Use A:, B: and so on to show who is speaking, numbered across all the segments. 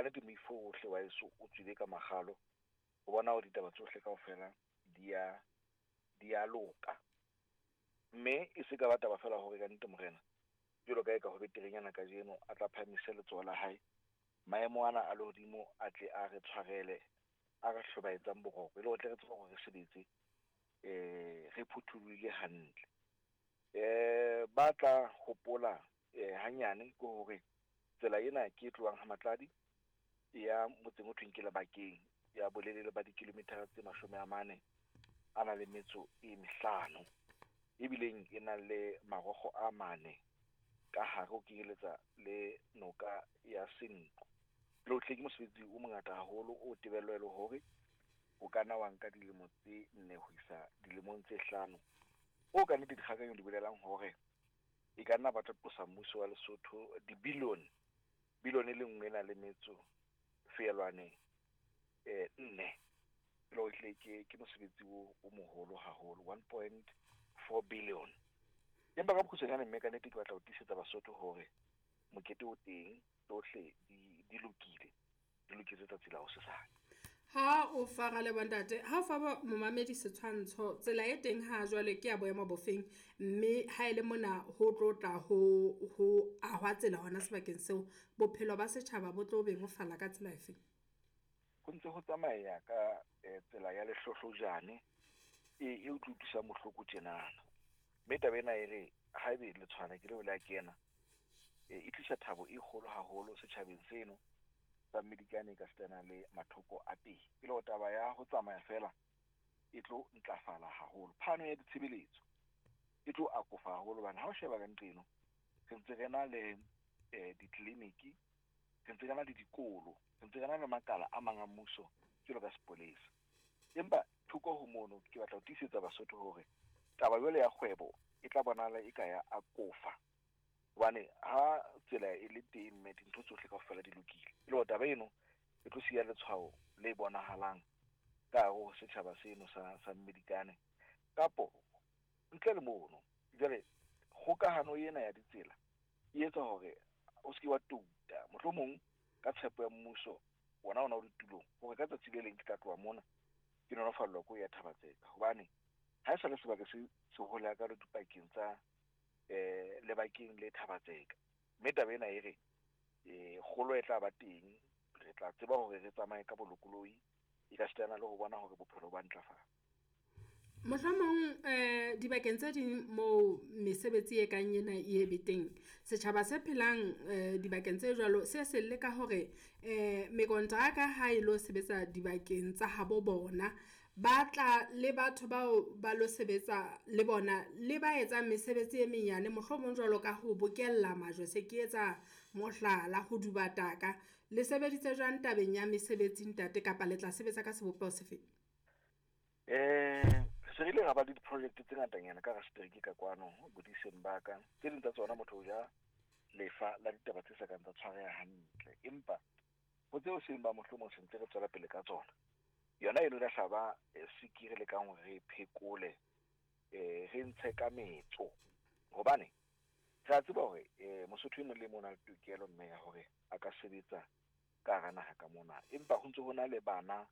A: nnete moifo ohle wa heso o tswile ka makgalo ho bona hore ditaba tsohle kaofela di ya di ya loka. Mme e se ka ba taba feela hore ka nnete morena jwalo ka e ka ho beterenyana kajeno a tla phahamise letsoho la hae, maemo ana a lehodimo a tle a re tshwarele a re hlobaetsang boroko, e le hore tle re tsebe hore re sebetse re phuthulohile hantle. Ba tla hopola hanyane ke hore tsela ena ke e tlohang ha Matladi e ya motseng o thweng ke Lebakeng, ya bolelele ba dikilometera tse 45, ebileng e nang le marokgo a mane ka hare ho kenyeletsa le noka ya Senqu. Le ho tle ke mosebetsi o mongata haholo o tebello e le hore o ka nna wa nka dilemo tse 4 ho isa dilemong tse 5, o ka nnete dikgakanyo di bolelang hore e ka nna ba tla qosa mmuso wa Lesotho dibilione, bilione e le nngwe e nang le metso feelwane 4. E le hore ehlile ke mosebetsi o moholo haholo, 1.4 billion. Empa ka bokgutshwanyane mme ka nnete ke batla ho tiisetsa Basotho hore mokete o teng, tsohle di lokile, di loketse tsatsi la hosesane.
B: Ha o fa Ralebo ntate, ha o fa momamedi setshwantsho, tsela e teng ha jwale ke ya boemo bofeng, mme ha ele mona ho tlo tla ho ahwa tsela hona sebakeng seo, bophelo ba setjhaba bo tlo bebofala ka tsela efeng?
A: Ho ntse ho tsamaya ka tsela ya lehlohlojane e utlwi utlwisang bohloko tjenana. Mme taba ena e re haebe le tshwana ke leo le a kena, e tlisa thabo e kgolo haholo setjhabeng seno sa Mmedikane ka sitana le mathoko a teng. E le hore taba ya ho tsamaya fela e tlo ntlafala haholo. Phano ya ditshebeletso e tlo akofa haholo hobane ha o sheba ka nqeno re ntse re na le ditleliniki, re ntse re na le dikolo, re ntse re na le makala a mang a mmuso jwalo ka sepolesa. Empa thoko ho mono ke batla ho tiisetsa Basotho hore taba jwale ya kgwebo e tla bonahala e ka ya akofa, hobane ha tsela e le teng mme dintho tsohle kaofela di lokile. E le hore taba eno e tlo siya letshwao le bonahalang ka hare ho setjhaba seno sa Mmedikane. Kapo ntle le mono, jwale kgokahano ena ya ditsela e etsa hore o se ke wa touta, mohlomong ka tshepo ya mmuso wona ona o le tulong hore ka tsatsi le leng ke tla tloha mona ke nolofallwa ke ho ya Thaba-Tseka, hobane ha e sa le sebaka se sehole hakalo dipakeng tsa Lebakeng le Thaba-Tseka. Mme taba ena e re kgolo e tla ba teng, re tla tseba hore re tsamaye ka bolokolohi, e ka sitana le ho bona hore bophelo ba ntlafala.
B: Mohlomong dibakeng tse ding moo mesebetsi e kang ena e be teng, setjhaba se phelang dibakeng tse jwalo se selle ka hore mekontraka ha e lo sebetsa dibakeng tsa habo bona, ba tla le batho bao ba lo sebetsa le bona le ba etsang mesebetsi e menyane, mohlomong jwalo ka ho bokella majwe, se ke etsa mohlala ho duba taka. Le sebeditse jwang tabeng ya mesebetsi ntate, kapa le tla sebetsa ka sebopeho se feng?
A: Se re ile ra ba le di-project tse ngatanyana ka hara setereke ka kwano bodiseng ba ka. Tse ding tsa tsona motho o ja lefa la ditaba tse sa kang tsa tshwareha hantle, empa ho tseo seng ba mohlomong se ntse re tswela pele ka tsona. Yona eno la hlaba siki re lekang hore re phekole, re ntshe ka metso, hobane re a tseba hore Mosotho e mong le mong o na le tokelo mme ya hore a ka sebetsa ka hara naha ka mona, empa ho ntse ho na le bana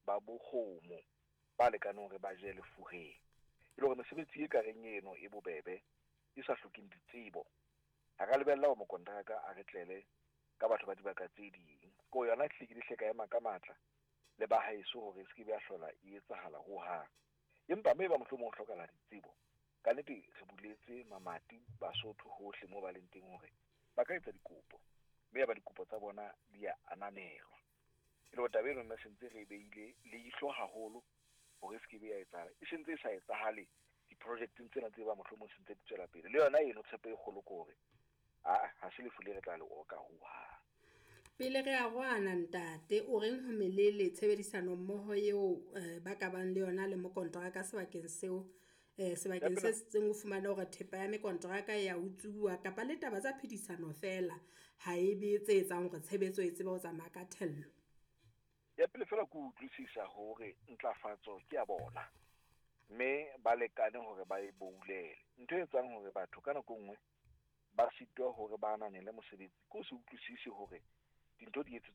A: ba bokgomo ba lekaneng hore ba je lefureng. E le hore mesebetsi e ka reng eno e bobebe, e sa hlokeng ditsebo, ha ka lebella hore mokontraka a re tlele ka batho ba dibaka tse ding. Ko yona ehlile ke dihle ka ema ka matla le ba haeso hore e se ke be ya hlola e etsahala hohang. Empa mme ba mohlomong ho hlokahala ditsebo, ka nnete re buletse mamati Basotho hohle moo ba leng teng hore ba ka etsa dikopo, mme ya ba dikopo tsa bona di a ananelwa. E le hore taba eno nna se ntse re e beile leihlo haholo hore e se ke be ya etsahala. E sentse e sa etsahale di-projecteng tsena tse ba mohlomong se ntse di tswela pele. Le yona eno tshepo e kgolo ke hore ha se lefu le re tla le oka hohang.
B: Pele re arohana ntate, o reng ho melele tshebedisano mmoho eo ba ka bang le yona le mokontraka sebakeng seo, sebakeng se seng o fumane hore thepa ya mekontraka ya utsuwa kapa le taba tsa phedisano feela ha e be tse etsang hore tshebetso e tsebe ho tsamaya ka thello?
A: Ya pele feela ke utlwisisa hore ntlafatso ke ya bona, mme ba lekane hore ba e boulele. Ntho e etsang hore batho ka nako e nngwe ba sitwa hore ba ananele mosebetsi ke ho se utlwisise hore dintho di etsetswa